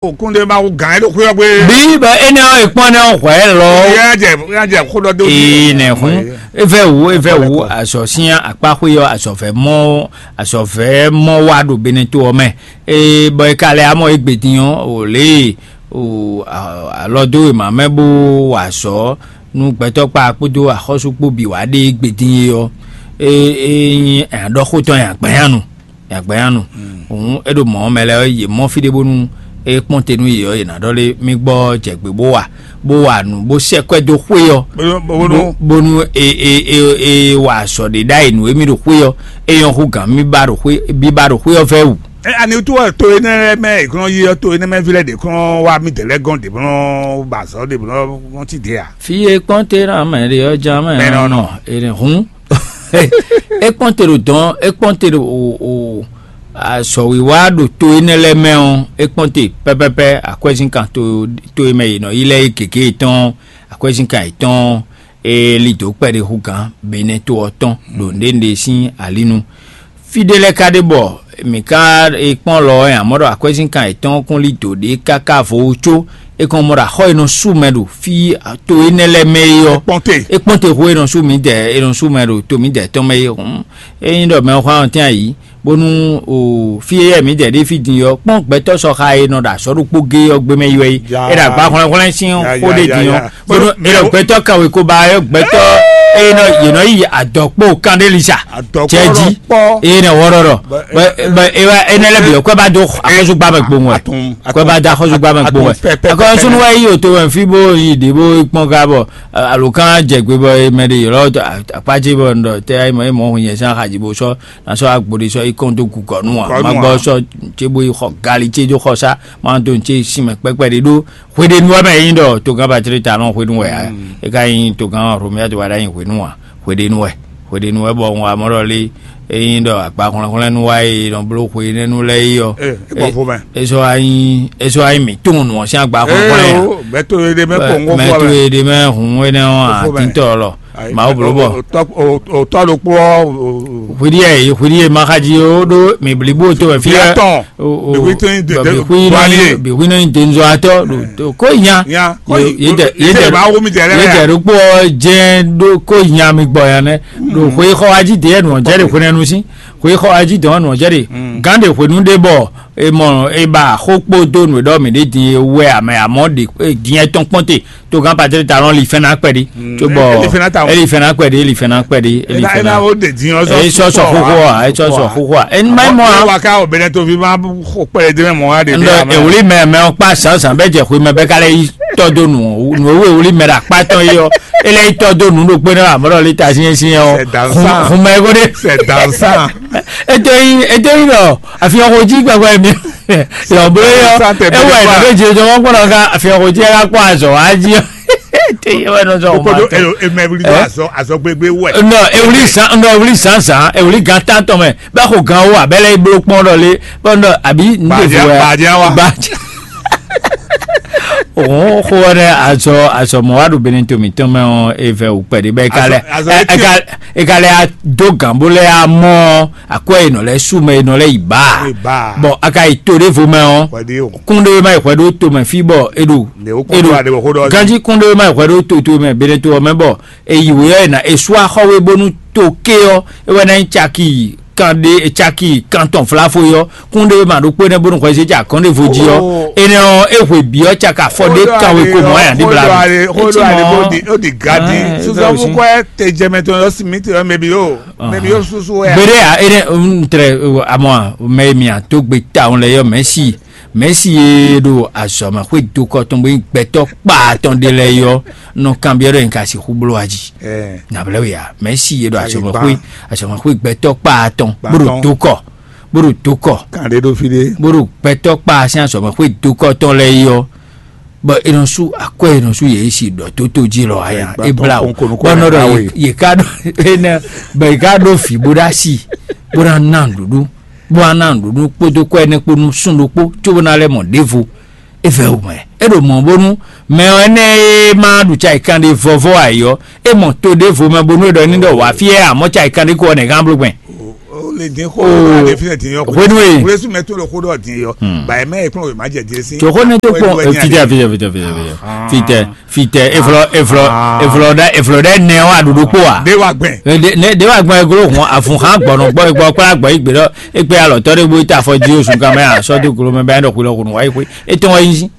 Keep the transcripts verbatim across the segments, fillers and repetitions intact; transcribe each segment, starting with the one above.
Kúndé ma wú gǎn é ɖo xwé ɔ́ gbé. Bí bɔ énɛ́ ɔ́, è kpɔ́n nɛ́ ɔ́ hwɛ̌ lɔ. Yá jɛ yá jɛ xó ɖɔ dó. Ee nɛ hun. Evɛ wu evɛ wu azɔ sín akpáxwé ɔ́, azɔvɛ mɔ azɔvɛ mɔ wá ɖo Beneto ɔ́ mɛ. Ee bɔ è ka lɛ amɔ égbé din ɔ́, o lě o alɔ dó wěma mɛ bó wa azɔ̌ nú gbɛtɔ́ kpá kpódó axɔ́sú kpó bǐ wá ɖe égbé din é ɔ́, é é nyí aɖɔxótɔn nyagbanyánu. Nyagbanyánu. Hǔn é ɖo mɔ̌ mɛ lɛ́ɛ ɔ́, yě mɔ fí ɖé bónú é kpɔ́n te nú yě ɔ́, yě ná ɖɔ lé mì gbɔ jɛ gbě bó wa bó wa nǔ bó sɛ́ kwɛ́ dó xwé ɔ́, bónú bónú é é é é wa azɔ̌ ɖé ɖ'ayǐ nú émí ɖo xwé ɔ́, é nyɔ́ hú gǎn mì ba ɖo xwé bíbá ɖo xwé ɔ́ vɛ́ wú. Ɛ ani wútu wɛ to énɛ́ lɛ́ɛ mɛ è glɔ́n yi ɔ́, to énɛ́ mɛ ví lɛ́ɛ ɖě kɔn wá mì dɛ̌ lɛ́ɛ gɔ́n ɖě blɔ́n ba azɔ̌ ɖě blɔ́n wọ́n ti ɖě a? Fí e kpɔ́n te ná mɛ ɖe ɔ́ ján mɛ Mɛ nɔ nɔ. Ene hǔn é kpɔ́n te ɖo dɔn é kpɔ́n te ɖo o o azɔ̌wiwa ɖo to énɛ́ lɛ́ɛ mɛ ɔ́, é kpɔ́n te pɛ́pɛ́pɛ́ akwɛ́zínkan to to e mɛ è nɔ yi lɛ́ɛ é gěgé yětɔn akwɛ́zínkan yětɔn é lí dǒ kpɛɖé hú gǎn Benɛ́ to ɔ́ tɔn ɖo nǔɖé nǔɖé sín alínu. Fí ɖé lɛ́ɛ ka ɖe bɔ mǐ ka e kpɔ́n lɔ ɔ́, amɔ̌ ɖɔ akwɛ́zínkan yětɔn kún lí dǒ ɖé káká vo wú có é kɔn mɔ ɖɔ axɔ́ e nɔ sú mɛ ɖo fí to énɛ́ lɛ́ɛ mɛ é ɔ́, Kpɔ́n te. É kpɔ́n te xó e nɔ sú mǐdɛɛ e nɔ sú mɛ ɖo to mǐdɛɛ tɔn mɛ é hǔn. Ényí ɖɔ mɛ ɔ́ xwán ɔ́ tɛ́n ayǐ bónú o fí e yɛ mǐdɛɛ ɖé fí din ɔ́, kpɔ́n gbɛtɔ́ sɔxa e nɔ ɖo azɔ̌ ɖokpó gé ɔ́ gbé mɛ yi wɛ é. Ya. É ɖo agba hwlɛ́nhwlɛ́n sín Ya, xó ya, ɖé ya, din ya. Ɔ́, bónú é ɖɔ gbɛtɔ́ kawé ko ba ɔ́ gbɛtɔ́ e nɔ yě nɔ yi adɔ̌kpó kan ɖé lisa Adɔ̌kpó cɛ jí. Ɖɔkpɔ. Eye nɛ wɔɖɔɖɔ. Bɛ- bɛ bɛ ewa enɛ lɛ bi kwɛ ba do akɔsugba mɛ gbɔn wɛ. Atun- kwɛ ba da akɔsugba mɛ gbɔn wɛ. Atun pɛ- pɛ- pɛ- Akɔsu nu wa yi o to wɛ fi bo yi de bo kpɔn ga bɔ alo kan jɛ gbe bɔ mɛ de yɔrɔ akpatsi bɔ ndɔ tɛ ayi mɔ emo hun yɛ san xadzi bo sɔ na sɔ agbo de sɔ yi kɔn do gukɔ nu wa Gukɔ nu ma gbɔ wa. Sɔ tse bo yi xɔ gali tse do xɔ sa ma do tse sin mɛ kpɛkpɛ de do. Hweɖenu wɛ mɛ yin ɖɔ togán Patrick Talon hwenu wɛ a? E ka yin togán Romuald Wadagni hwenu a? Hweɖenu wɛ. Hweɖenu wɛ bɔ un wa mɔ ɖɔ lé e yin ɖɔ akpa hwlɛnhwlɛnu wa e nɔ bló hwe nɛnu lɛ yi ɔ. Ee, e gbɔ fo mɛ. E sɔ anyi e sɔ anyi mi tún nù ɔn sín agba hwlɛnhwlɛn ya. Ee o, mɛ to ye ɖe mɛ kpɔn ŋgɔ Mɛ fɔ to mɛ. Ye ɖe mɛ hun wɛ nɛ ɔn Fo mɛ. Atintɔ lɔ. Ayi, Mawu bló bɔ. O- o- o- o tɔ ɖokpó ɔ, o- o- Hwiɖi yɛ hwiɖi yɛ ma xadzi o ɖo mi blibo to mɛ fi Fia yɛ. Tɔn. O- o- Bixwi tɔn yin de- bɔ de- bixwi nɔ yin Duanier. Bixwi nɔ yin denzɔatɔ ɖo ko nya. Nya, ko Ye- yin- ye dɛ- ye ye dɛ- dɛ- ba wo mi dɛ lɛ ye ya. Dɛ ɖokpó ɔ jɛ ɖo ko nya mi gbɔ ya nɛ. Ɖo xwe xɔ aji de yɛ nɔ jɛ de xwe nɛnu si xwe xɔ aji de nɔ jɛ de gan de xwenu de bɔ e mɔ e ba xo kpo do nu ɖɔ mi de din ye wɛ amɛ amɔ de din yɛ tɔn kpɔn te. Togán Patrick Talon li fɛn na kpɛ di. Tó bɔ Eli fɛn na ta o. Eli fɛn na kpɛ di eli fɛn na kpɛ di eli Ena fɛn ena na. O de din ɔzɔ. Eyi sɔ sɔ xoxo a eyi sɔ sɔ xoxo a eni ma mɔ a. Wa ka o bɛnɛ to fi ma xo kpɛ de mɛ mɔ wa de bi Ndɔ ama. Ewuli mɛ mɛ ɔkpa sansan bɛ jɛ xwe mɛ bɛ ka lɛ yi tɔ do nu nu ewu ewuli mɛ ɖe akpa tɔn yi ɔ ele yi tɔ do nu ɖo kpe ne amɔ ɖɔ li ta sinyɛ sinyɛ ɔ C'est dansant. Hun mɛ ko de. C'est dansant. Ete yi ete yi nɔ afi ɔkọ ji gbɛgbɛ mi. Yɔ bolo yɔ Santé ewa yi nɔ bɛ jɛ jɔ wɔn kpɔnɔ ka afi ɔkọ ji ɛka kpɔ azɔ wa ji ɔ. Ete yi wɛ nɔ zɔ Kpokpɔdo ɔmɔ. Elo emɛ wuli do azɔ azɔ gbegbe wɛ. Nɔ ewuli san nɔ ewuli san san ewuli gan tan tɔn mɛ bɛ ko gan wo abɛlɛ iblo kpɔn dɔ le bɛ nɔ abi n de Badia- fu wɛ badia wa. Badia. Òun xó wɛ dɛ azɔ azɔ mɔ wa ɖo bene tomi tɔn mɛ ɔ evɛ wò pɛɖi bɛ eka lɛ Azɔ- azɔ eka eka lɛ do gan bo lɛ amɔ akwɛ yi nɔ lɛ su mɛ yi nɔ lɛ yi ba Yi ba. Bɔn aka yi to ɖevo mɛ ɔ Wɛdi o. Kún ɖe ma yi hwɛ ɖo to mɛ fi bɔ e ɖo Ne o e kɔn ɖo to aɖe wɔ xó ɖɔ. Ganji kún ɖe ma yi hwɛ ɖo to to mɛ bene to ɔ mɛ bɔ eyi wòyɔ yina esu axɔwe bónú to ké ɔ ewɛ na nyi caki kan ɖe caki kan tɔn flafo yɔ kún ɖe ma ɖo kpé nɛ bónú xɔ esi ca kɔn ɖe vo jí ɔ enɛ ɔ ehwe bi ɔ caka fɔ ɖe kan we ko mɔ aya ɖi bla mi. Xó ɖɔ ale bó di ó di gadi Ah, susɔmu bro, kɔɛ te jɛmɛ tó yɔ simi te yɔ mɛbi yó mɛbi yó susu wɛ. Gbede a ene n trɛ amɔ mɛ mi a to gbe ta on lɛ yɔ mɛ si Mɛ̌si e ɖo azɔ̌mɛxwé dokɔ tɔn bó nyí gbɛtɔ́ kpaa tɔn ɖé lɛ́ɛ é ɔ́ nɔ kanbyɔ́ ɖɔ nyɛ ka sixú bló a jí. Nǎblɛ́ we ǎ. Mɛ̌si e ɖo azɔ̌mɛxwé azɔ̌mɛxwé gbɛtɔ́ kpaa tɔn bó ɖo dokɔ bó ɖo dokɔ Kan ɖé ɖó fí ɖé. Bó ɖo gbɛtɔ́ kpaa sín azɔ̌mɛxwé dokɔ tɔn lɛ́ɛ é ɔ́, bɔ è nɔ sú akwɛ́ è nɔ sú yě si ɖɔ tótó jí lɔ aya é blá o. Bɔ nɔ ɖɔ yě ka ɖó énɛ́ bɔ yě ka ɖó vǐ bó ɖó asi bó ná ná nǔɖuɖu. Bó wá ná nǔɖuɖu kpódó kɔ́ énɛ́ kpó nú sún ɖokpó cóbó ná lɛ́ mɔ ɖěvo. É vɛ́ wǔ mɛ. É ɖo mɔ̌ bónú mɛ ɔ́ énɛ́ e ma ɖu cayikan ɖé vɔvɔ ayǐ ɔ́, é mɔ to ɖěvo mɛ bónú é ɖɔ ní ɖɔ wǎ fí ɛ amɔ̌ cayikan ɖé ko ɔ́ nɛ̌ gán bló gbɛn. Din xó ɖe fi din yɔ. Hwenu e. Wule su mɛ to le xó ɖɔ din yɔ. Ba mɛ e kplɔn o ma jɛ din si. Tso xó ne tó kpɔn fitɛ fitɛ fitɛ fitɛ fitɛ fitɛ eflɔ eflɔ eflɔ ɖe eflɔ ɖe nɛ wa ɖoɖo kpó wa. De wa gbɛn. De wa gbɛn glo hun afun xan gbɔnɔ gbɔ gbɔ kpla gbɔ igbe ɖɔ ekpe alɔtɔ ɖe bo ta afɔ di osun kan mɛ asɔ do glo mɛ bɛ ɖɔ xwilɔ xunu wa yi xwe etɔn wa yi si.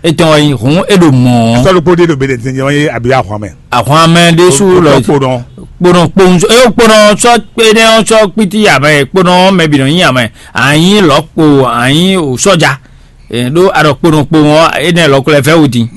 Etɔn wɛ nyí hǔn é ɖo mɔ̌. Sɔ́ ɖokpó ɖé ɖo Benɛtinjɛ wɛ nyí abi ahwan mɛ. Ahwan mɛ ɖésú lɔ kponɔ. Kponɔ kpowun sɔ eyó kponɔ sɔ kpéɖé sɔ kpíti amɛ kponɔ mɛ bǐ nɔ nyí amɛ anyi lɔkpo anyi sɔja. Ɖó aɖɔ kponɔ kpowun ɔ́ énɛ́ lɔkɔ lɛ fɛ́ wú din.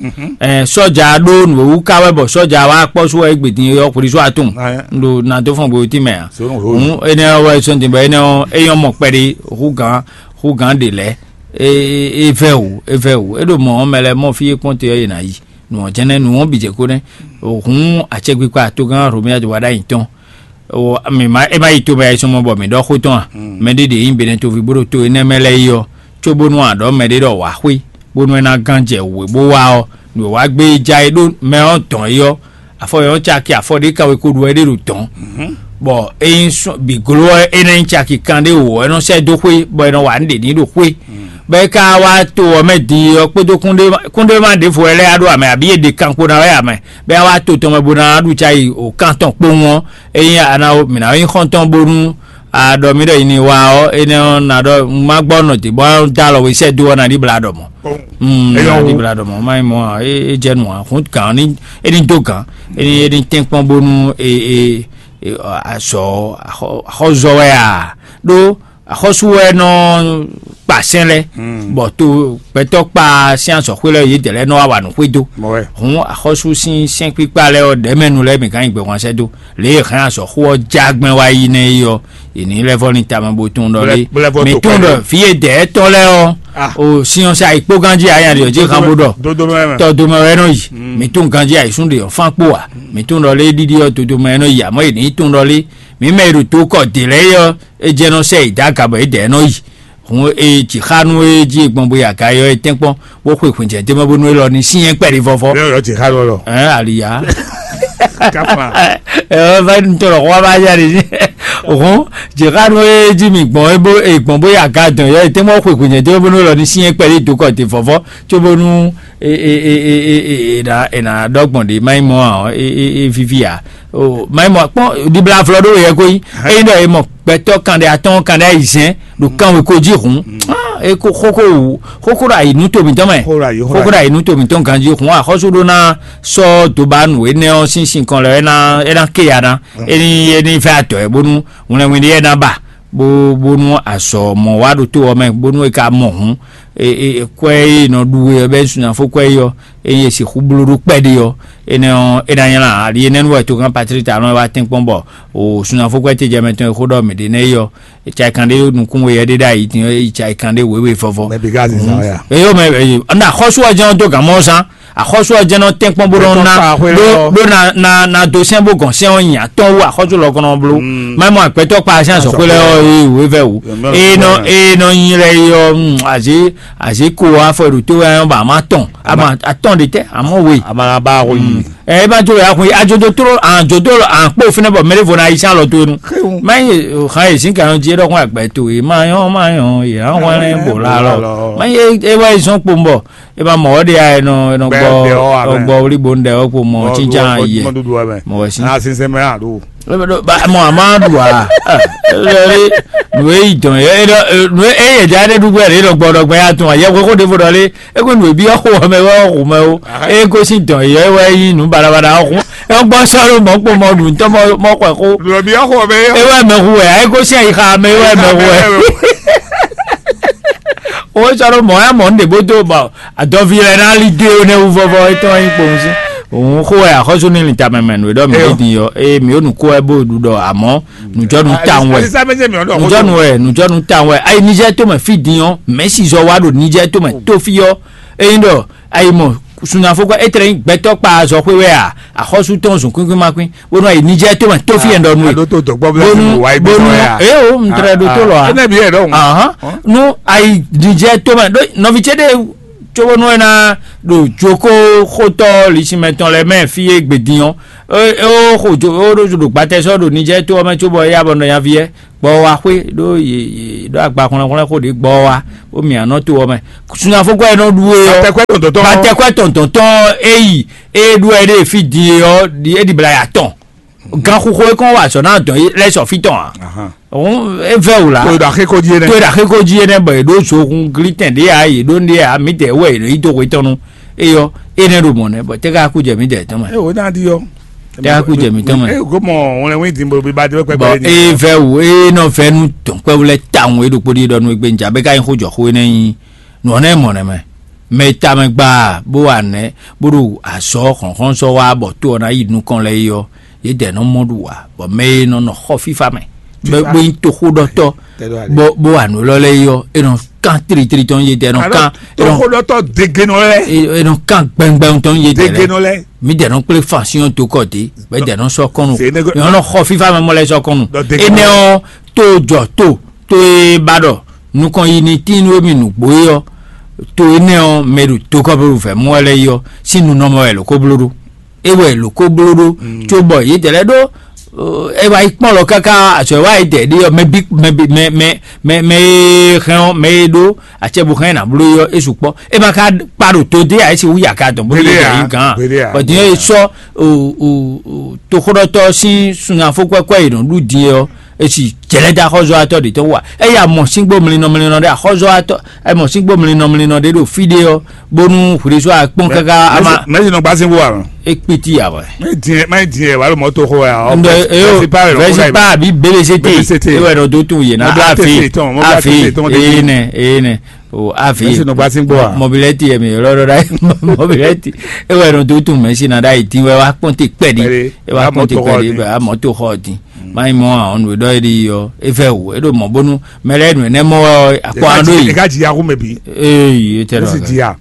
Sɔja ɖó nǔwú ká wɛ bɔ sɔja wa kpɔ́ sú wɛ égbè din yɔ xwlísú atún. Ɖo nado fɔn gbewuti mɛ a. Hǔn énɛ́ wɛ sɔn din bɔ énɛ́ ɔ́ é nyɔ́ mɔ kpɛɖé hú gǎn hú gǎn ɖe lɛ́ɛ. E vɛ o e vɛ o é ɖo mɔ̌ ɔ́ mɛ lɛ́ɛ mɔ fí e kpɔ́n te ɔ́ yě ná yi. Nǔ ɔ́ jɛ́n nɛ́ nǔ ɔ́ bǐ jɛ kó nɛ́. Hǔn acɛkpikpa atogán Romia wá ɖ'ayǐ tɔn. Mi ma é ma yi to mɛ ya yi sɔmɔ bɔ mǐ ɖɔ xó tɔn a? Mɛ ɖé ɖě nyí Benɛtoví bó ɖo to énɛ́ mɛ lɛ́ɛ yi ɔ́, cóbónú a ɖɔ mɛ ɖé ɖɔ wǎ xwé, bónú é ná gán jɛ wǔ e bó wá ɔ́, nǔ e wá gbé yi ja é ɖó mɛ ɔ́ dɔn é ɔ́, afɔ yɔ caki afɔ ɖé ka wɛ ko ɖu wɛ ɖé ɖo dɔn. Bɔ ényí bǐ gló ɔ́ é nɔ nyí caki kanɖé wǒ ɔ́ é nɔ sɛ́ dó xwé bɔ é nɔ wa nǔ ɖě ní ɖo xwé. Bɔ é ka wá to ɔ́ mɛ din ɔ́ kpódó kúnɖéma ɖěvo wɛ lɛ́ɛ á ɖó amɛ abǐ è ɖe kan kpo ná wɛ amɛ bɔ é wá to tɔn mɛ bó ná ɖu cayi o kan tɔn kpowun ɔ́, ényí a ná mǐ ná nyí xɔ́ntɔn bónú a ɖɔ mì ɖɔ yi ní wa ɔ́ énɛ́ ɔ́ ná ɖɔ má gbɔ nɔ dě bɔ dó alɔ we sɛ́ dó ɔ́ ná ɖi bla ɖɔ mɔ. Mm, Eyɔn ná ɖi wu. Bla ɖɔ mɔ má nyí mɔ ɔ́ é é jɛ nǔ ǎ hún gǎn ní é ní dó gǎn é ní é ní tɛ́nkpɔ́n bónú e e e azɔ axɔzɔ wɛ a ɖó axɔ́sú wɛ nɔ kpa sɛn lɛ bɔ to gbɛtɔ́ kpa sín azɔxwé lɛ yě dɛ lɛ nɔ wa wa nǔ xwé dó. Hǔn axɔ́sú sín sɛ́nkpíkpá lɛ ɔ́ ɖɛ̌mɛnu lɛ mǐ gán nyi gbɛhwan sɛ́ dó lě e hɛn azɔxó ɔ́ já gbɛn wá yi nɛ́ é ɔ́, è nǐ lɛ́ vɔ́ ní tamɛ bó tunwun ɖɔ lé. Mǐ tunwun ɖɔ vǐ e dɛ̌ tɔn lɛ́ɛ ɔ́ o sin ɔ́ sɛ ayǐkpó ganjí aya ɖi ɔ́ jí xan bó ɖɔ tɔdó mɛ wɛ nɔ yi. Mǐ tunwun ganjí ayǐsún ɖe ɔ́ fán kpó a? Mǐ tunwun ɖɔ lé ɖiɖi ɔ́ dodó mɛ wɛ nɔ yi, àmọ́ è nǐ tunwun ɖɔ lé mǐ mɛ e ɖo dǒ kɔ dě lɛ́ɛ é ɔ́, é jɛ nɔ sɛ yi dó aga bɔ é dɛ̌ nɔ yi. Hǔn e jǐ xá nú é jí e gbɔn bó yi aga é ɔ́ é tɛ́nkpɔ́n bó xwe hwǐnjɛ d'é mɛ bónú élɔ́ ní syɛ́n kpɛɖé vɔ́vɔ́. Lẹ́yìn ọ̀rọ̀ jǐ xá lọ́lọ́. Ɛ aliya. Káfá. Ɛ va ní tɔrọ xɔ bá yá de. Hǔn jǐ xá nú é jí mi gbɔn é bó é gbɔn bó yi aga dɔn yɔ é tɛ́nkpɔ́n xwe hwǐnjɛ d'é mɛ bónú élɔ́ ní syɛ́n kpɛɖé dó kɔ dě vɔ́vɔ́ cóbónú e e e e e e e na e na ɖɔ gbɔn ɖe ma nyí mɔ ɔ e e e vivi a o ma nyí mɔ kpɔn ɖibla flɔ ɖo yɛ ko yi eyi ɖɔ e mɔ gbɛtɔ kan ɖe atɔn kan ɖe ayi zɛn ɖo kan we ko jí hun e ko xoko wu xoko ɖo ayi nu to mǐtɔn mɛ Xoko ɖo ayi, xoko xoko ɖo ayi nu to mǐtɔn ganji hun axɔsu ɖo na sɔ doba nu enɛ ɔ sín sin kɔn lɛ ena ena ke ya na eni eni fɛ atɔ ɛ bónú ŋlɛŋlɛ ɖe ena ba bó bónú azɔ mɔ wá ɖo to ɔ mɛ bónú e ka mɔ hun e e kwɛ e nɔ ɖu e bɛ sunafo kwɛ yi ɔ eye sixú bló ɖó kpɛɖé ɔ enɛ ɔ é ná nylá ali enɛnu wɛ togán Patrick Talon wá tɛ́nkpɔ́n bɔ o sunafó kwɛ tejɛ mɛ tɔn e xó ɖɔ mǐ ɖe nɛ yi ɔ etsa kan ɖé nukún we yɛ ɖé ɖo ayi tɔn etsa kan ɖé wěwe vɔvɔ. Mɛ bi ká zizan ya. Eyó mɛ eye ɔnà axɔ́sú ɔjɛ ɔn dó gǎn mɔ zán axɔ́sú ɔjɛ nɔ tɛ́nkpɔ́n bó nɔ ná Gbɛtɔ́ kpa xwé lɔ. Ɖó ɖó na na na do sɛn bó gɔn sɛn ɔ nyi atɔn wú axɔ́sú lɔ kɔnɔ bló mɛ mɔ agbɛtɔ kpa sɛn azɔxwé lɛ ɔ eye wò evɛ wò Mɛ eye nɔ mɛ. Eye nɔ nyi lɛ yi ɔ azé azé ko afɔ ɖo tó wɛ ba ma tɔn ama atɔn de tɛ amɔ we. Amala ba ko yi. Ɛ eba jo ya kun ajojo toro ajojo ankpo fene bɔ mele vo na yi san lɔ to nu. Xewu. Ma ye o xa ye sin kan ji dɔ kun agbɛ to ye ma yɔn ma yɔn ye an wan le bo la lɔ. Ma ye e wa yi sɔn kpo mbɔ e ma mɔ de ya e nɔ e nɔ Bɛ gbɔ de ɔ wa mɛ. Gbɔ wuli bo ndɛ o kpo mɔ Mɔ tsinjan du- ye mɔ dudu wa mɛ. Mɔ si. Na sinsɛn mɛ a do. Mɔ a ma ɖu a. Nue yi dɔn ye nu e yɛ ja ɖe ɖu gbɛ ɖe ɖɔ gbɔ ɖɔ gbɛ ya tun a yɛ koko ɖevo ɖɔ le. Eko nue bi ɔxo mɛ wɛ ɔxo mɛ o. Eko si dɔn ye wɛ yi nu balabala ɔxo. Eko gbɔ sɔrɔ mɔ kpo mɔ ɖu ntɔ mɔ mɔ kɔ ko. Nue bi ɔxo mɛ yɔ. Ewɛ mɛ hu wɛ eko si ayi xa mɛ ewɛ mɛ hu wɛ. O sɔrɔ mɔ ya mɔ nde bo do ba adɔvi lɛ na li de o ne wu vɔvɔ etɔn yi kpɔn si. Òun xo wɛ axɔsu ni li tamɛ mɛ nu e ɖɔ mi Eyo. Di yɔ eye mi o nu ko wɛ bo ɖu ɖɔ amɔ nujɔnu tan wɛ Alisabɛsɛ mi ɔdɔ nujɔnu wɛ nujɔnu tan wɛ ayi Niger to mɛ fi din ɔ mɛsi zɔ wa ɖo Niger to mɛ to fi ɔ eyin ɖɔ ayi mɔ sunyafo kɔ etre nyi gbɛtɔ kpa azɔ xwe wɛ a axɔsu tɔn zun kwinkwin ma kwin bonu ayi Niger to mɛ to fi yɛn ɖɔ nu ye Ado to dɔgbɔ bla bonu si wa yi bonu gbɛtɔ ya. Eye o n trɛ ɖo to lɔ a Ene bi yɛ ɖɔ. Ahan nu ayi Niger to mɛ ɖo nɔvi ce ɖe cóbónú é ná ɖo jokóxótɔ́ lisinmɛ tɔn lɛ́ɛ mɛ fí e gbe din ɔ́, é é ó xo jo é ó ɖo ɖo gbatɛ sɔ́ ɖo Nijɛ́ɛ to ɔ́ mɛ cóbɔ é yá bɔ nɔ nyaví ɛ gbɔ wa xwé ɖó yě yě ɖó agba hwlɛ́nhwlɛ́n xó ɖě gbɔ wa bó mì anɔ to ɔ́ mɛ. Sunafókɔ e nɔ ɖu é ɔ́, Batɛkwɛ tɔntɔn tɔn. Batɛkwɛ tɔntɔn tɔn é yi é ɖu ɛ ɖe fí din é ɔ́, é ɖi bla ya tɔn. Ganxixo e kɔn wa azɔ̌ ná dɔn lɛ́ sɔ fí tɔn ǎ. Ahan. Òun é vɛ́ wǔ lá. To e ɖo axéko jí é nɛ́. To e ɖo axéko jí é nɛ́ bɔ è ɖó zohun glítɛn ɖé ǎ, yě ɖó ɖé ǎ, mǐdɛɛ wɛ è nɔ yi dó hwe tɔn nu. Éyɔ́, énɛ́ ɖo mɔ̌ nɛ́, bɔ tɛ́ ká kú jɛ mǐdɛɛ tɔn mɛ. É wǒ ná ɖi ɔ́. Tɛ́ ká kú jɛ mǐ tɔn mɛ. É kó mɔ wlɛnwín din bo bí ba dé pɛpɛ Bɔ ní. É vɛ́ wǔ, é nɔ vɛ́ nú dɔ̌nkpɛ́vú lɛ́ɛ tawun é ɖokpó ɖíe ɖɔ nú égbé njà bɛ́ ká nyí xó jɔ xó énɛ́ nyí. Nǔ ɔ́ nɛ́ mɔ nɛ́ mɛ. Mɛ e tamɛ gba bó wa nɛ̌ bó ɖo azɔ̌ hlɔ̌nhlɔ́nzɔ́ wa bɔ tó ɔ́ ná yi nukɔn lɛ́ɛ é ɔ́, yědɛɛ nɔ mɔ ɖu ǎ, bɔ mɛ e nɔ nɔ xɔ fífá mɛ, bó Fífá. Bó nyí toxóɖɔtɔ́, Tɛ́ ɖó alě. Bó bó wa nǔ élɔ́ lɛ́ɛ é ɔ́, é nɔ kán tlítlí tɔn yědɛɛ nɔ Alɔ kán, é nɔ toxóɖɔtɔ́ degenɔ lɛ́ɛ. É é nɔ kán gbɛngbɛn tɔn yědɛɛ lɛ́ɛ. Degenɔ lɛ́ɛ. Mǐdɛɛ nɔ kplé fansyɔn dó kɔ dě, bɔ é dɛɛ nɔ sɔ́ kɔn nu. Mǐ nɔ xɔ fífá mɛ mɔ lɛ́ɛ sɔ́ kɔn nu. Dɔ degenɔ. Énɛ́ ɔ́, tó jɔ tó tó e ba ɖɔ nukɔn yi ní tín nú émí nǔgbó é ɔ́, to énɛ́ ɔ́, mɛ ɖo tokɔ́blóɖu vɛ̌ mɔ wɛ lɛ́ɛ é ɔ́, sín nu nɔ mɔ wɛ è lǒ ko bló ɖó. É wɛ è lǒ ko bló ɖó, cóbɔ yědɛɛ lɛ́ɛ ɖó é wá yi kpɔ́n lɔ káká azɔ̌ e wá yědɛɛ ɖe ɔ́, mɛ bí mɛ bí mɛ mɛ mɛ mɛ e hɛn ɔ́, mɛ e ɖó acɛ bo hɛn ná bló é ɔ́, é sukpɔ́. É ma ka kpa ɖo to dé ǎ, é si wú yaka dɔn bó ɖo Gbeɖé yědɛɛ ǎ, yí gǎn. Gbeɖé ǎ. Bɔ din é sɔ́ o o o toxóɖɔtɔ́ sín sunafó kwɛ́kwɛ́ e nɔ ɖu din é ɔ́, esi jɛlɛ́ dó axɔ́zɔ́watɔ́ ɖě tɔn wú a? Eye a mɔ síngbó mlinɔ mlinɔ ɖé axɔ́zɔ́watɔ́, a mɔ síngbó mlinɔ mlinɔ ɖé ɖo fí ɖé ɔ́, bónú hwlɛ́sú akpɔ́n káká a ma Mɛsi nɔ gbá síngbó ǎ. É kpítí ǎ wɛ. Má yi dín má yi dín ɛ wà ló mɔ tó xó ɛ ɔ. Ndo eyo Vɛsi pa ɛ lɔ kó vɛsi ká pa àbí B B C T B B C T. E wɛ nɔ dó tún yé na Mɔbílá afi tete tɔn, mɔbílá afi tete tɔn, mɔbílá eye tete. Nɛ eye nɛ o afi Mɛsi nɔ gbá síngbó ǎ. Mɔbilɛti yɛ mi lɔ ɖɔ ɖa mɔbilɛti e wɛ nɔ dó tún mɛsi na ɖa yi dín wɛ wa kpɔn te kpɛɖi. Pɛɖi. E wa Wa kpɔn te mɔtò xɔ kpɛɖi din. Bɛ a mɔtò xɔ din. Má yi mɔ àwọn nǔ e ɖɔ é ɖi ɔ́, é vɛ wò é ɖo mɔ̌ bónú mɛ lɛ́ɛ nǔ énɛ́ mɔ wɛ ɔ́, akpɔ aɖó yi. Eka dzi ya xú mɛ bǐ. Ee, é tɛ Ó sì jìyà.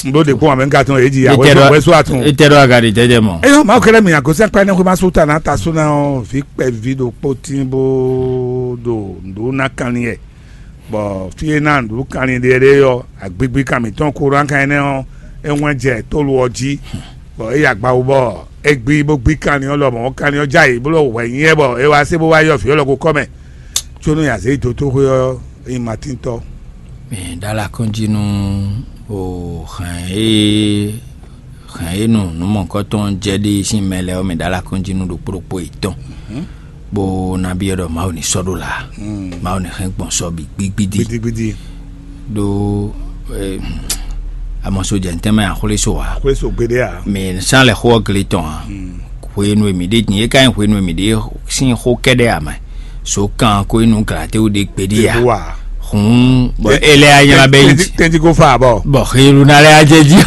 N ɖó ɖe kpɔ́n amɛ ká tɔn èyí jìyà É tɛ wɛsó ɖɔ wɛsó àtún. É tɛ ɖɔ aga ɖe jɛjɛ mɔ. Eyɔ, Mawu kɛlɛ mi àgosɛn kpɛ ne xwe ma sú ta na ta sú na ɔ vi kpɛ vi ɖo kpó tín bó ɖo nǔɖó ná kanlin yɛ. Bɔ fí e ná nǔɖó kanlin ɖe ɖe yɔ agbigbi kan mǐtɔn kó ɖó kan énɛ́ ɔ́, é wɛn jɛ tólu ɔ́ jí. Bɔ é yi agbawu bɔ é gbí bó gbí kanlin ɔ́ lɔmɔ̌ kanlin ɔ́ já yi bó lɔ wɛ nyí ɛ bɔ é wá sé bó wá yɔ vǐ ɔ́ lɔ ko kɔ mɛ. Có nú azě yi dó tó xwé ɔ́, é nyí Matíntɔ́. Mi ɖó alɔ akɔ́njí nú o hɛn e hɛn e nú nǔmɔ̌kɔ́tɔn jɛ ɖe sín mɛ lɛ́ɛ ɔ́, mi ɖó alɔ akɔ́njí nú ɖokpó ɖokpó yětɔn, bó ná byɔ́ ɖɔ Mawu ní sɔ́ ɖó la, Mawu ní hɛn gbɔn sɔ́ bǐ gbígbídí. Gbidigbidi. Ɖó eh, amɔsojɛntɛn mɛ axwlé so ǎ. Xwé so gbeɖé ǎ. Mi sán lɛ xó ɔ́ gle tɔn ǎ. Hwenu e mǐ ɖe din é ka nyí hwenu e mǐ ɖe sín xó kɛ́ɖɛ́ ǎ mɛ. So kan ko inú glatéwu ɖe gbeɖé ǎ. Ɖeɖo ǎ. Hǔn bɔ é lɛ́ anyla bɛ nyi. Tɛnti ko fa bɔ. Bɔ xelu ná lɛ́ ajɛ jí.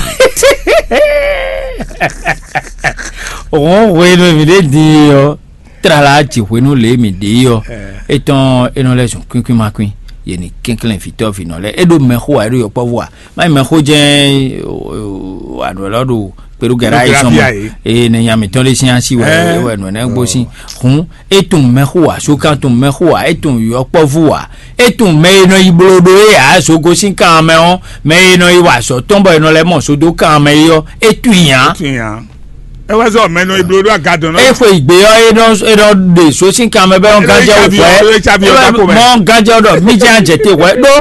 Hǔn hwenu e mǐ ɖe din ɔ́, tlala ji hwenu lě e mǐ ɖe é ɔ́, etɔn é nɔ lɛ́ zun kwínkwín ma kwín. Yě ní kɛnklɛ́n vǐtɔ́ vǐnɔ lɛ́ɛ. É ɖo mɛxó ǎ, é ɖo yɔkpɔ́vú ǎ. Má nyí mɛxó jɛ́n wǎ nǔ élɔ́ ɖo kpeɖógɛ́ɖá yi sɔn mɔ. Eye nɛ nya mǐtɔn ɖé sín asi wɛ é wɛ nǔ énɛ́ gbó sín. Hǔn é tunwun mɛxó ǎ, sókan tunwun mɛxó ǎ, é tunwun yɔkpɔ́vú ǎ, é tunwun mɛ e nɔ yi bló ɖó é ǎ, zogo sín kan mɛ ɔ́, mɛ e nɔ yi wa azɔ̌ tɔn bɔ è nɔ lɛ́ mɔ zo dó kan mɛ é ɔ́, é tunwun i ǎ. Ɛ wá sɔ mɛ nɔ iblo ɖo agadɔn nɔ. E xwe igbe ɔ e nɔ e nɔ ɖe so sín kan mɛ bɛ ɔn ganjɛ o fɛ. Mɔ ganjɛ ɔ dɔ mi jẹ anjɛ te wɛ ɖo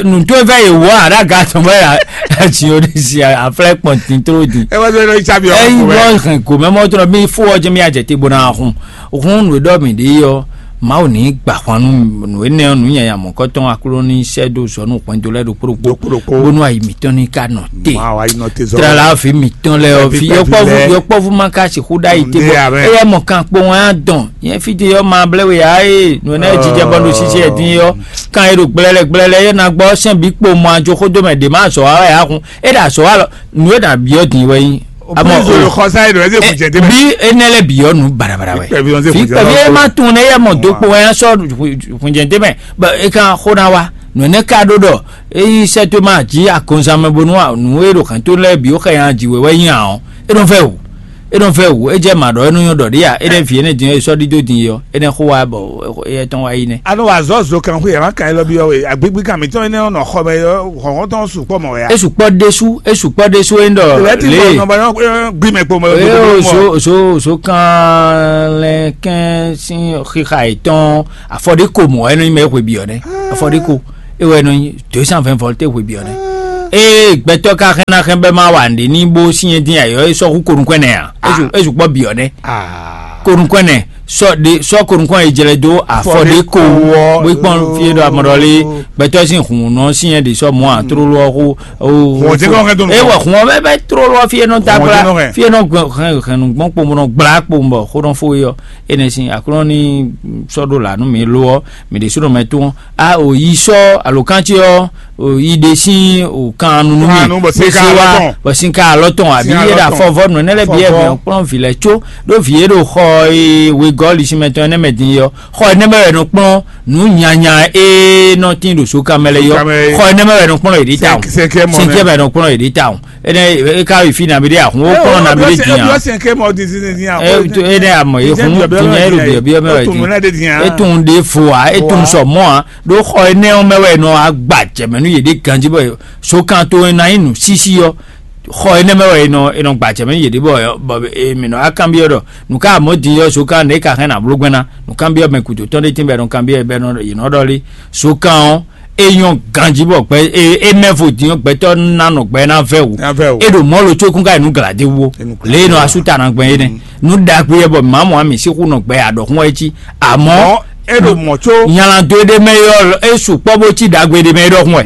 nùtó fɛ yè wɔ aɖa ga tɔn bɛ ya tsi o de si aflɛ kpɔn tin tro di. Ɛ wá sɔ e nɔ itsa bi ɔ Eyi kò bɛ. Bɔ hɛn gomɛ mɔ tɔn mi fo ɔjɛ mi ajɛ te bo na hun hun nu dɔ mi de yɔ. Mawu ní gbà hwan nú nǔ énɛ́ ɔ́, nǔ nyanya mɔ̌kɔtɔn Aklúnɔ ní sɛ́ dó zɔ nú hwɛndo lɛ́ɛ ɖokpó ɖokpó, Ɖokpó ɖokpó. Bónú ayi mǐtɔn ní ka nɔ te. Má wá yi nɔ te zɔ. Tlala ɔ́, vǐ mǐtɔn lɛ́ɛ ɔ́, Fɛ́ fí fífẹ́ yɔkpɔ́vú fífẹ́. Yɔkpɔ́vú má ka sixú ɖ'ayǐ te Ndé bɔ amɛ. Éyɛ́ mɔ kan kpo wọn á dɔn. Yẹn fí te yɔ ma blɛ́ we ǎ é, nǔ énɛ́ jijɛ bɔ ɖo sisi ɛ dín yɔ. Kan e ɖo gblɛlɛ gblɛlɛ yɛ na gbɔ sɛn bǐ kpo mɔ ajo xó dó mɛ ɖě má azɔ̌ wa wɛ ǎ hun. É ɖo azɔ̌ wa lɔ, nǔ e ɖo abyɔ́ din wɛ nyí. Àmọ́ Òpin ìṣòro o- kọ sáyé rẹ̀ ṣe kò jẹ́ débẹ̀. Bí énɛ́ lɛ bǐ ɔ́ nú bàràbàrà wɛ. Pẹ̀lú ọ̀sẹ̀ Fi kò jẹ́ pẹ̀lú lọ́wọ́ ẹ má tó. Tún un nɛ yɛ mɔ dó kpo wɛ sɔ fúnjẹ dé mɛ. Bɔ e kan xó ná wa. Nǔ énɛ́ ka ɖó ɖɔ eyi sɛ tó ma jí akɔnzan mɛ bónú nǔ e ɖo hɛn tó lɛ bǐ ó xɛ nyan jǐ wɛ wɛ nyi ǎ ɔ́. É nɔ fɛ o. É nɔ vɛ́ wǔ, é jɛ mǎ ɖɔ é nɔ nyɔ́ ɖɔ ɖě a, é nɛ́ vǐ énɛ́ din ɔ́, é sɔ́ ɖídó din é ɔ́, é nɛ́ xó wá bɔ éyɛ́ tɔn wá yi nɛ́. A nɔ wa azɔ̌ zo kanxwé ǎ, ma ka élɔ́ byɔ́ we, agbégbé kan mǐtɔn énɛ́ ɔ́ nɔ xɔ mɛ ɔ́, hlɔ̌nhlɔ́n tɔn sukpɔ́ mɔ wɛ a? É sukpɔ́ ɖésú, é sukpɔ́ ɖésú é ɖɔ Lɛ̌ ti lé. Bɔ nɔ ba nyɔ́ gbí mɛ kpo mɛ. Ée o zo zo zo kan lɛ kɛn sín xixa yětɔn, afɔɖéko mɔ̌ wɛ é nɔ nyí mɛ e hwe byɔ̌ nɛ́. Afɔɖéko é wɛ é nɔ nyí deux cent vingt volt é hwe byɔ̌ nɛ́. Ée gbɛtɔ́ ka hɛn ná hɛn bɛ́ má wa nǔɖé ní bó syɛ́n dín ayɔ́ é sɔ́ hú konukún ɛnɛ ǎ. É zu é zu kpɔ́ byɔ̌ nɛ́. Konukún ɛnɛ sɔ ɖe sɔ konukún e jlɛ dó afɔ ɖé ko. Bó kpɔn fie ɖo amɔɖɔ lé gbɛtɔ́ sín hun nɔ syɛ́n ɖe sɔ mɔ a tró lɔ xó. Hɔn jɛ kɔ hɛn dó nukɔn. Ewɔ hun ɔbɛ bɛ tró lɔ fie nɔ Hɔn dagbla jɛ nɔ hɛn. Fie nɔ hɛn nu gbɔn kpomɔ nɔ gbla kpomɔ xó nɔ fo yɔ. Enɛ sin aklɔ ni sɔ ɖo la nú mi lo ɔ mi ɖe sínú mɛ tún a o yi sɔ alo kantsi ɔ o yi ɖe sín o kan nunu mi Kan nu bɔ sin ka alɔ tɔn. Bɔ sin ka alɔ tɔn àbí Sin alɔ yé ɖa tɔn. Fɔvɔ nù ɛnɛ lɛ bi ɛ Fɔvɔ. Mɛ kplɔn vi lɛ tso ɖo vi yé ɖo xɔ e wegɔ lisimɛ tɔn ɛnɛ mɛ din yɔ xɔ ɛnɛ mɛ wɛ nɔ kplɔn nǔ nyanya e nɔ tin ɖo so kan mɛ lɛ yɔ Kan mɛ. Xɔ ɛnɛ mɛ wɛ nɔ kplɔn yě ɖi ta o Cinq- cinquième mɔ nɛ. Cinquième mɛ nɔ kplɔn yě ɖi ta o. Ene e ka yi fi na mi ɖe ahun o kɔnɔ na mi ɖe diyan. Ene amɔ ye hun diyan e ɖo biɔ biɔ mɛ wɛ di. Etun ɖe fo a etun sɔ mɔ a ɖo xɔ ene ɔn mɛ wɛ nɔ agba jɛmɛ nu ye ɖe ganji bɔ so kan to na yi nu sisi yɔ xɔ ene mɛ wɛ nɔ enɔ gba jɛmɛ nu ye ɖe bɔ bɔ emi nɔ akanbiɔ ɖɔ nu ka mɔ di yɔ so kan ne ka hɛn na blo gbɛna nu kanbiɔ mɛ kudo tɔn ɖe tin bɛ nɔ kanbiɔ bɛ nɔ yi nɔ ɖɔ li so kan ɔn e nyɔ ganji bɔ gbɛ e e mɛ vo din gbɛtɔ na nɔ gbɛ na vɛ wu. Na vɛ wu. E ɖo mɔ lo tso kún ka yi nu glade wo. E nu glade le nɔ wo. Asu ta na gbɛ ye nɛ nu dagbe yɛ bɔ mamu ami si xu nɔ gbɛ adɔ xun wɛ ci amɔ Mɔ e ɖo mɔ tso. Nyala do e ɖe mɛ yɔ e su kpɔ bo ci dagbe ɖe mɛ e ɖɔ xun wɛ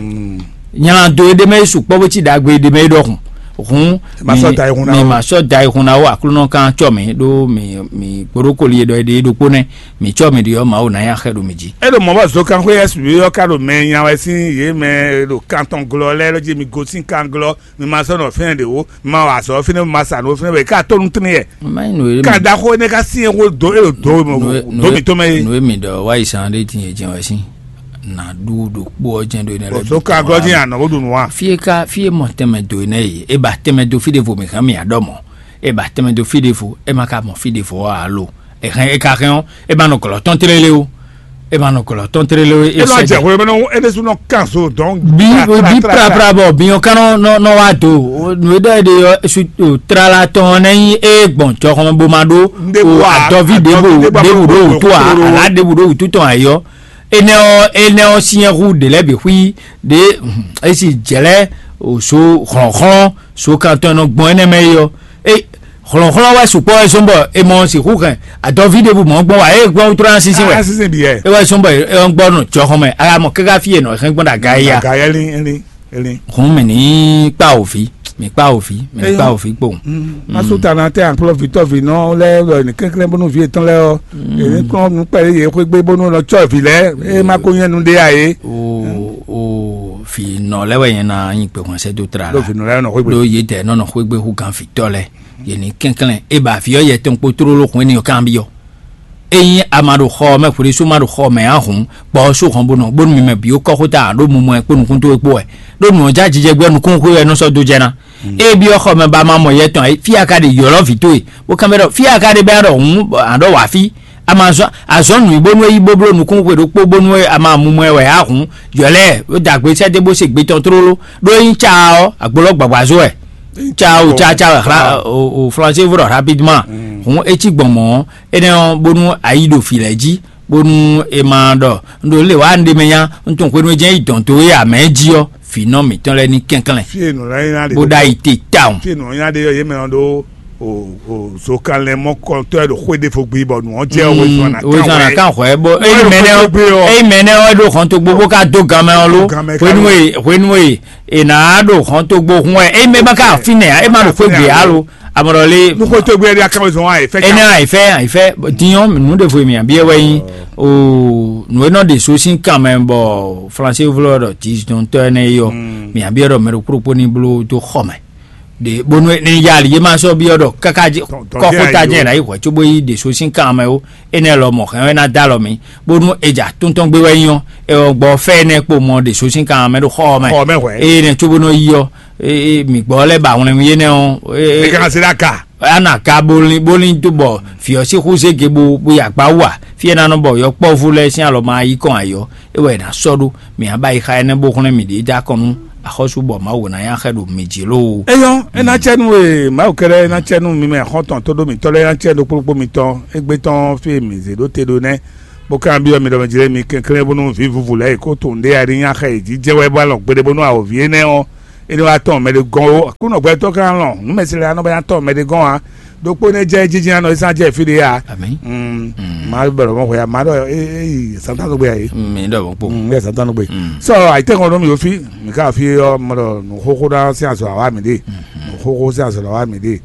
nyala do e ɖe mɛ e su kpɔ bo ci dagbe ɖe mɛ e ɖɔ xun hun. Ma sɔ da yi hun na mi wo. Ma sɔ da yi hun na wo aklunɔ kan tsɔ mi ɖo mi mi gboɖokoli e ɖɔ e ɖe e ɖokpo nɛ. Mi tsɔ mi ɖi ɔ́, Mawu ná nyi axɛ ɖo mi jí. E ɖo mɔ̌ bɔ zokanxwé S B ɔ́ ka ɖo mɛ nya wɛ sín yě mɛ e ɖo kan tɔn glɔ́ lɛ́ɛ lɔ jí mi gosín kan glɔ́, mi ma sɔ́ nɔ fínɛ́ ɖě wó, mi ma wa azɔ̌ fínɛ́, mi ma sa nǔ fínɛ́ wɛ, e ka tó nú tín yɛ. Má nyí nǔ e mi Kan ɖaxó énɛ́ ka syɛ́n xó dó e ɖo dǒ we mɔ Nǔ e- nǔ dǒ e- mǐtɔn mɛ é. Nǔ e mi ɖɔ wá yi sán ɖé din e jɛ́n wɛ sín. Nǎ ɖu ɖokpó ɔ́ jɛ́n ɖó énɛ́ lɛ́ɛ Bɔ zokan glɔ́ jí anɔ bó ɖu nǔ wa. Fí e ka fí e mɔ tɛnmɛ dó énɛ́ yi, é ba tɛnmɛ dó fí ɖěvo mǐ hɛn mǐ á ɖɔ mɔ̌. É ba tɛnmɛ dó fí ɖěvo, é ma ka mɔ fí ɖěvo ɔ́ ǎ lo. È hɛn é ka hɛn ɔ́, é ma nɔ glɔ̌ tɔn tlélé ó. É ma nɔ glɔ̌ tɔn tlélé ó. É É nɔ sɔ́ jɛ jɛ. Hwemɛ nɔ é ɖésú nɔ kan so dɔn. Bí bí prapra bɔ binyɔ kan nɔ nɔ nɔ wá do. Nǔ e ɖɔ é ɖe ɔ́, su tlala tɔn ɔ́ nɛ nyí é gbɔn jɔxɔmɛ bó ma ɖó. Ɖěbǔ o ǎ, adɔví ɖěbǔ ɖěbǔ ɖó wǔtú ǎ, alǎ ɖěbǔ ɖó wǔtú tɔn ayɔ. Énɛ́ ɔ́ énɛ́ ɔ́ syɛ́n hú ɖě lɛ́ɛ bǐ xwí ɖě é si jɛ̌lɛ́ so hlɔ̌nhlɔ́n so kan tɔn e nɔ gbɔn énɛ́ mɛ é ɔ́. É hlɔ̌nhlɔ́n wɛ sukpɔ́ wɛ zɔ́n bɔ è mɔ sixú hɛn adɔví ɖěbǔ mɔ̌ gbɔn wá é gbɔn wútu ná sísí wɛ. Sísí bǐ yɛ. É wɛ zɔ́n bɔ é gbɔ nɔ jɔxɔn mɛ a mɔ káká fí e nɔ hɛn gbɔn ɖo aga é ya. Aga yɛ lin lin lin. Hǔn mì ní kpá òfí, mì kpá òfí, mì ní kpá òfí kpowun. Masu ta na tɛ ankplɔ vitɔ vi nɔ lɛ wɛ ní kɛnklɛn bónú vi etɔn lɛ ɔ. Èmi kplɔn nu kpɛlɛ yɛ xwé gbé bónú lɔ tsɔ vi lɛ. E ma ko nyɛ nu ɖe a ye. O o fi nɔ lɛ wɛ yẹn na nyi kpekun sɛ do tra Lɔ la. Vi nɔ lɛ nɔ xwé gbé. Ɖo yě dɛ nɔ nɔ xwé gbé hu gan vitɔ lɛ. Yě ní kɛnklɛn e ba vi ɔ yɛ tɔn kpo tlóló hun énɛ́ ɔ́ kanbyɔ́. Ényí a ma ɖo xɔ ɔ́ mɛ hwlísú ma ɖo xɔ mɛ ǎ hǔn, kpɔ ɔ́ sú hɔn bó nɔ bónú mi mɛ bǐ ó kɔ́ xó ta ǎ ɖó mumɔ ɛ kpó nukúntɔ́ é kpó wɛ, ɖó nǔ ɔ́ já jijɛ gbɛ́ nukúnxwé wɛ é nɔ sɔ́ dó jɛ ná. Ée byɔ́ xɔ mɛ ba ma mɔ yɛ tɔn ǎ, fí a ka ɖe ylɔ́ vǐ towe, bó kanbyɔ́ ɖɔ fí a ka ɖe bɛ́ ɖɔ hǔn a ɖɔ wǎ fí, a ma zɔ́n azɔ̌ nǔ yi bónú é yi bó bló nukúnxwé ɖokpó bónú a ma mumɔ ɛ wɛ ǎ hǔn, ylɔ́ ɛ ɖó dǎgbé sɛ́ dó bó se gbe tɔn tlóló, ɖó ényí ca ɔ́, agbo lɔ gbǎgbázó wɛ. Ca o ca ca wɛ hla o o flanse vɔ rapidement. Hun etsi gbɔn mɔ énɛ́ ɔ́ bónú ayi ɖo fǐ lɛ́ɛ jí bónú è ma ɖɔ un ɖo lě wá un ɖe mɛ nya un tunwun hwenu e jɛ́n yi dɔn dó é amɛ jí ɔ́, vǐnɔ mǐtɔn lɛ́ɛ ní kɛnklɛn Fie nɔ lɛ nya de. Bó ɖo ayi te tawun. Fie nɔ nya de yɔ yé mɛ nɔ ɖo o o zokanlɛ mɔkɔtɔ yɛ ɖo xwé ɖe fo gbi bɔ nù ɔn jɛ o zɔn na kan wɛ. Kan hwɛ bó eyi mɛ nɛ eyi mɛ nɛ ɔ ɖo xɔn to gbogbo ká dó gan mɛ ɔ ló. Gan mɛ ká hwenu ló. E hwenu e e nǎ ɖo hɔn tó gbó hun wɛ é mɛ ma ka fínɛ́ ǎ é ma ɖo xwé gbe alo amɔɖɔ lé. Nuxwétɔ́ gbé ɛɖí akáwé zɔn wá ìfẹ́. Énɛ́ àyífẹ́ àyífẹ́ dinyɔn nǔ ɖěvo e mǐ abiɛ wɛ nyí o nǔ e nɔ ɖe so sín kan mɛ bɔ flanse vlɔ ɖɔ dizɔntɔ ɛnɛ yɔ mǐ abiɛ ɖɔ mɛ ɖokpó ɖokpó ní bló dó xɔ mɛ ɖe bónú ní ya ali yé ma sɔ́ biɔ ɖɔ káká kɔ́xota jɛ ná yi hwɛ cóbó yi ɖe so sín kan mɛ ó. Énɛ́ lɔmɔ̌ hɛn wɛ ná dó alɔ mì, bónú è jɛ atúntɔ́n gbé wɛ nyí ɔ́, è wɔ gbɔ fɛ́ énɛ́ kpo mɔ ɖě só sín kan mɛ ɖo xɔ ɔ́ mɛ. Xɔ ɔ́ mɛ hwɛ̌. Eye nɛ̌ cóbónú é yí ɔ́, é- é- mǐ gbɔ lɛ́ ba wlɛnwí énɛ́ ɔ́, é- È é- ka se ɖó aga. Ana ka bóli bóli tó bɔ fiyɔ sí xúzé gebo bó yi akpá wa fí ɛ ná nɔ bɔ yɔkpɔ́vú lɛ́ɛ sín alɔ ma yí kɔn ayɔ é wɛ è nǎ sɔ́ ɖó. Mǐ á ba yi xa énɛ́ bó xlɛ́ mǐ ɖě dó akɔn nú axɔ́sú bɔ Mawu ná nyi axɛ ɖo mǐ jí lóo. Eyɔ́, é ná cɛ nú e Mawu kɛ́ɖɛ́ é ná cɛ nú mi mɛ xɔ́ntɔn tó ɖó mǐtɔn lɛ́ɛ é ná cɛ ɖokpó ɖokpó mitɔn égbé tɔn fí e mǐ zě ɖó te ɖó nɛ́, bó ka byɔ́ mi ɖɔ mɛ jlé mi kɛnklɛ́n bónú vǐ vuvu lɛ́ɛ e kó tunwun ɖé a ní nyi axɛ yě jí jɛ wɛ bó alɔ gbeɖé bónú awǒvi énɛ́ ɔ́ é ní wá tɔn mɛɖé gɔ́n ó. Aklúnɔ gbɛtɔ́ ka lɔn nǔ mɛ se lɛ́ɛ anɔ bɔ nya tɔn mɛɖé gɔ́n ǎ. Ɖokpó nɛ́ jɛ jínjɛ́n anɔ é sán jɛ fí ɖé ǎ. Amǐ. Mm. Mm. Má bɛ̀rẹ̀ mɔ hwɛ̌ má ɖɔ é é yi santán tó gbé ǎ é. Mm, mi ɖɔ mɔ̌ kpo. Mm, é santán tó gbé. Mm. Sɔ àyítɛ́kɔn ɖó mi ó fí mi ká fí ɔ́ mɔ ɖɔ nǔ xóxó ɖá sí azɔ àwa mi ɖe. Mm. Nǔ xóxó sí azɔ àwa mi ɖe.